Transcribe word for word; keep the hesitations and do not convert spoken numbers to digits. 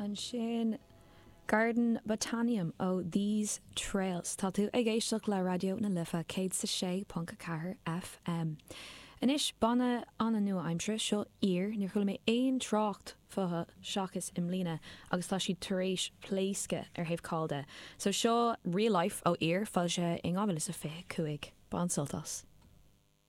Ansin Garden Botanium ó These Trails Tá tú ag éisteacht le Raidió na Life céad sa sé ponc ceathair FM. Anois banna an-nua-aimseartha seo Ír níor chuala mé aon trácht fúthu seachas i mbliana agus tá siad tar éis pléascadh ar thaobh ceoil de. So seo Real Life ó Ír foilsithe in dhá mhíle is a fiche cúig. Bain sult as.